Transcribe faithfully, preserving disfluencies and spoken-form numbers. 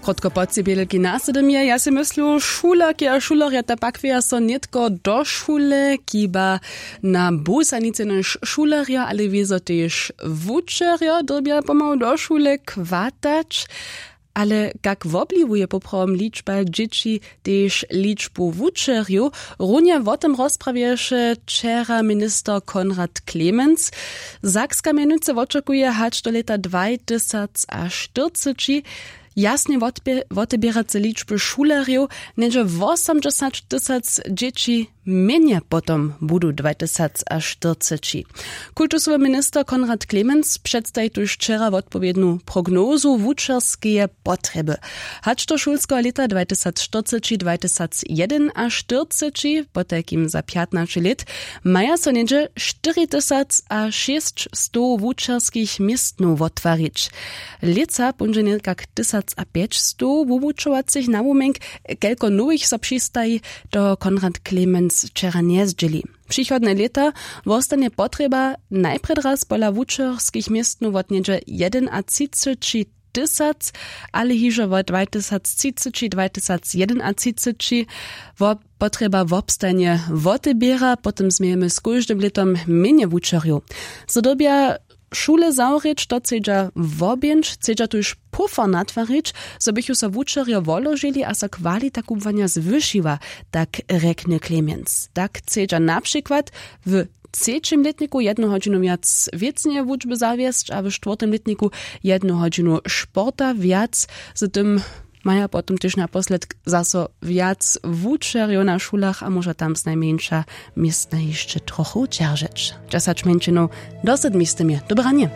Podko po cibělki na sydom je, ja sej myslu, šulerki a šulerjo, ta pakweja so nětko do šule, kiba na bus a nic jenož šulerjo, ale wězo tež wučerjo dyrbja pomału do šule kwatać. Ale kak wobliwuje poprawom ličba dźěći tež ličbu wučerjow? Runje wo tym rozprawješe wčera minister Konrad Clemens. Sakska mjenujcy wočakuje hač do lěta dwajtysacaštyrceći jasnje wotbě- woteběrace ličby šulerjow, něhdźe wosomdźesać tysac dźěći mjenje potom budu dwajtysacaštyrceći. Kultusowy minister Konrad Clemens předstaji tuž wčera wotpowědnu prognozu wučerskeje potrjeby. Hač do šulskeho lěta dwajtysacaštyrceći dwajtysacajedynaštyrceći, potajkim za pjatnaće lět, maja so něhdźe štyritysacašěsćstow wučerskich městnow wottwarić. Lětsa póńdźe někak tysacapećstow wuwučowacych nawumjenk, kelko nowych so přistaji, to Konrad Clemens wčera njezdźěli. Přichodne lěta wostanje potrjeba najprjedy raz pola wučerskich městnow wot něhdźe jedynatřiceći tysac, ale hižo wot dwajtysactřiceći dwajtysacjedynaćiceći wo-, potrjeba wobstajnje woteběra, potom změjemy z kóždym lětom mjenje wučerjow. Zo dyrbja šule zawrěć, to chcedźa wobjěnć, chcedźa tuž pufer natwarić, zo bychu so wučerjo woložili a so kwalita kubłanja zwyšiła, tak rjekny Clemens. Tak chcedźa na přikład w třećim lětniku jednu hodźinu wjac wěcneje wučby zawjesć a w štwórtym lětniku jednu hodźinu sporta wjac. Z tym maja potom tež naposledk zaso wjac wučerjow na šulach a móža tam znajmjeńša městna hišće trochu dźeržeć. Dźesać mjeńšinow do sydmi z tym je dobranje.